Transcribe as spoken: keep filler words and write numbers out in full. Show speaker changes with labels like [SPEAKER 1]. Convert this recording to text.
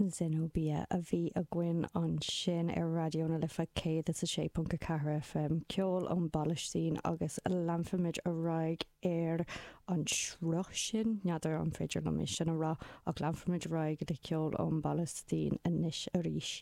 [SPEAKER 1] Zenobia a bhí againn ansin ar Raidió na Life céad is a sé ponc a ceathair FM ceol ón bPalaistín agus leanfaimid ar aghaidh ar an sruth sin n'fheadar an féidir liom é sin a rá ach leanfaimid ar aghaidh le ceol ón bPalaistín anois arís.